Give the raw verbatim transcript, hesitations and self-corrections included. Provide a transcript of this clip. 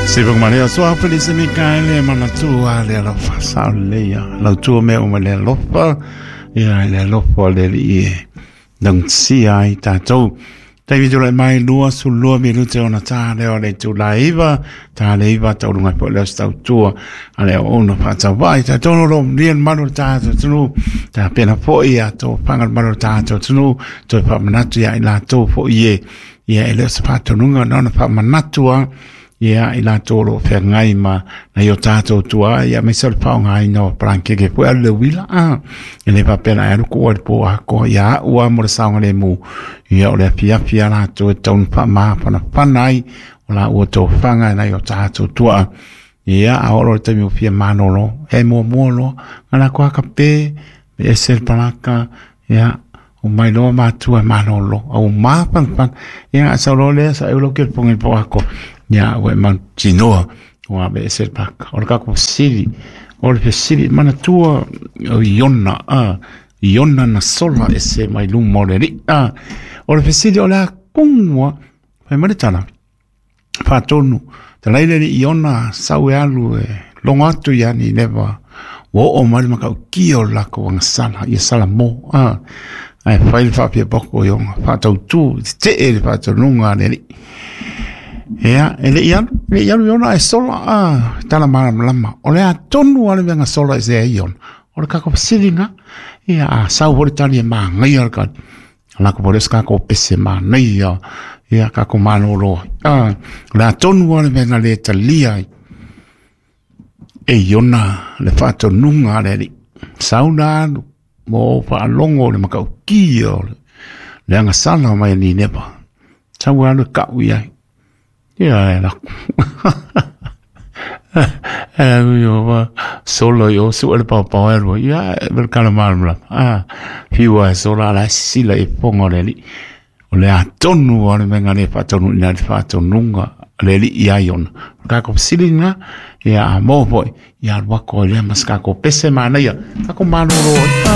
Siva Maria soa Felice Mikaele manatua le alofa sao leia lautua mea uma le alofa ia le alofa le alii e laugatasia ai tatou. Taimi tulai mai lua sulua minute ona tā lea o le itula iva, tā le iva tauluga ai foi lea o se tautua a le auauna faatauvaa i tatou o lo o manuia le malu o le tatou atunuu, tapena foi ia tofaga le malu o le tatou atunuu, toe faamanatu ia i latou foi e ia e le o se faatonuga na ona faamanatu lava ia i latou o lo o feagai ma nai o tatou tuaa ia aemaise o le faaaogaina o palakeke foi alu le uila a e le faapea na e alu kuua i le po atoa ia au lava mo le saogalemu ia o le afiafi a latou e tatau ona faamafanafana ai o laua tofaga nai o tatou tuaa ia a oo loa i le taimi ua fia malolo e muamua loa na latou akape e ese le palaka ia omai loa matua e malolo a ua mafanafana ia a sau loa lea saeu lau kelepoga i le po atoa ia ua e mautinoa ua aveese le palaka. O le tatou fesili, o le fesili manatua o Iona a Iona na sola ese mai luma o le alii a o le fesili o le a kogu lava fai mai le tala faatonu talai le alii Iona sau e alu e logo atu ia Nineva ua oo mai le matautia o le latou agasala ia Salamo a ae fai le faapiapoko i ona faatautu tetee le faatonuga a le alii. Ia, e le i alu, e le i alu Iona ae sola a tala malamalama. O le a tonu lava le mea na sola ese ai Iona. O le tatou fesili lena. Ia, a sau foi le tali e manaia le tali. Lako foi lea o se tatou pese manaia, ia tatou malolo ai. A, o le a tonu lava le mea na le talia ai e Iona le faatonuga a le Alii. Sau na alu ma ou faalogo i le matautia o le agasala mai a Nineva. Sau alu e kau i ai. Ia e lako. E alu i o solo i o sue le paopao e alu ai. Ia e le kala malamalama. Ah, fiu e sola ala e sisila i fofoga o le alii. O le a tonu lava le mea na le faataunuuina ai le faatonuga a le alii ia Iona. O le tatou fesili lena, ia a maua foi, ia alu atu ai lea ma se tatou pese manaia, tatou malolo ai. Ah.